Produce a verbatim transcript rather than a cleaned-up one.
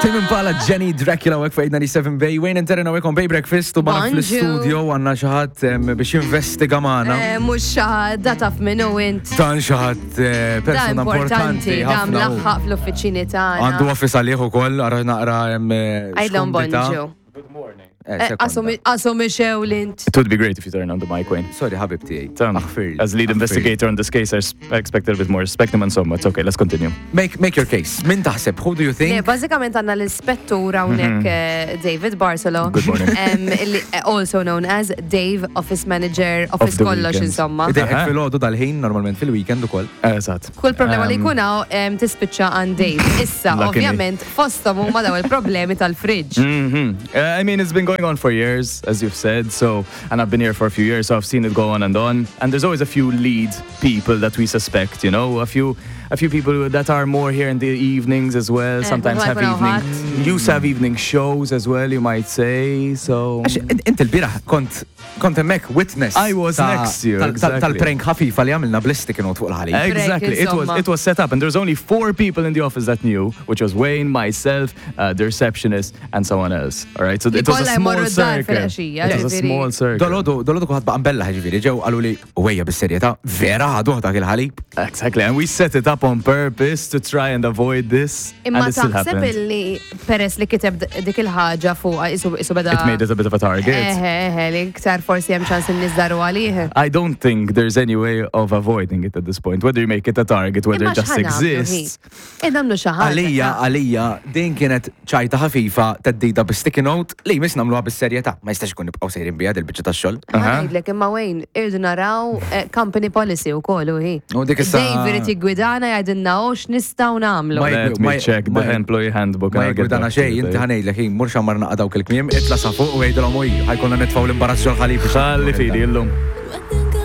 Tame Impala Jenny Dracula hawnhekk fuq eight ninety-seven Bay. Wayne and Terena hawnhekk on Bay Breakfast u magħna Bonjour. Fl-studio għandna xi ħadd biex jinvestiga magħna. Eh, mhux xi ħadd, da taf minnu int. Dan xi ħadd eh, Da persona importanti, importanti da ħafna. U mlaħħaq fl-uffiċini tagħna. għandu office għalih ukoll, ara naqra hemm eh, Għidlhom x'kumdità. bonġu. Eh, Eh, sekonda. Qasu mixew l-int. It would be great if you turn on the mic, Wayne. Sorry, ħabib tiegħi. Um, Aħfirli. as lead Aħfirli. investigator on this case, I s- I expect a bit more respect, and insomma, it's okay. Let's continue. Make, make your case. Min taħseb? Who do you Le, think? bażikament għandna l-ispettur hawnhekk eh, David Barcelo. Good morning. Em, illi- eh, also known as Dave, Office Manager, Office the kollox weekend. insomma. Idejqek Aha. filgħodu dal-ħin, normalment fil-weekend ukoll. Eżatt. Kull problema li Um, jkun hawn em, tispiċċa għand Dave. Issa, Lucky me. ovvjament, fosthom huma daw il-problemi tal-fridge. hmm Uh, I mean, it's been going on for years, as you've said. So, and I've been here for a few years, so I've seen it go on and on. And there's always a few lead people that we suspect, you know, a few, a few people that are more here in the evenings as well. Eh, Sometimes have ma jkun evening, used to have evening shows as well, you might say. So, Għax int int il-bieraħ kont kont hemmhekk witness. I was ta' next to you, tal- tal- exactly. Tal-prank ħafifa li għamilna bl-sticky note fuq il-ħalib. Exactly. It was insomma. It was set up, and there's only four people in the office that knew, which was Wayne, myself, uh, the receptionist, and someone else. All right. So Li it was a kollha small jmorru d-dar circle. fil-għaxija, It was a ġifieri. small circle. Dalgħodu, dalgħodu kulħadd baqa' mbellah ġifieri, ġew qalu li wejja bis-serjetà, vera ħaduh dak il-ħalib. Exactly, and we set it up on purpose to try and avoid this, Imma and it still taħseb happened. illi peress li kiteb d- dik il-ħaġa fuq isu isu beda. It made it a bit of a target. Eħe, eħe, li iktar forsi hemm ċans in-nies daru għalih. I don't think there's any way of avoiding it at this point. Whether you make it a target, whether Imma it just x'ħa nagħmlu, exists. hi? Nagħmlu xi ħaġa. Għalija, għalija, din kienet ċajta ħafifa theddida bi sticky note li jmiss nagħmluha bis-serjetà. Ma jistax ikun nibqgħu sejrin biha dil-biċċa tax-xogħol. Ħa ngħidlek imma Wayne, irdu naraw eh, company policy wkoll u hi. U dik issa- Dave irid jiggwidana jgħidilna u x'nistgħu nagħmlu. Ma Let ma- me check the ma- employee handbook. Ma And I'll get jgwidana back to xejn, you inti there. ħa ngħidlek, ħin, mur xammar naqa dawk il-kmiem, itla' sa fuq u għidilhom uj, ħa jkollna nitfgħu l-imbarazz ġol-ħalib. Ħalli f'idi illum.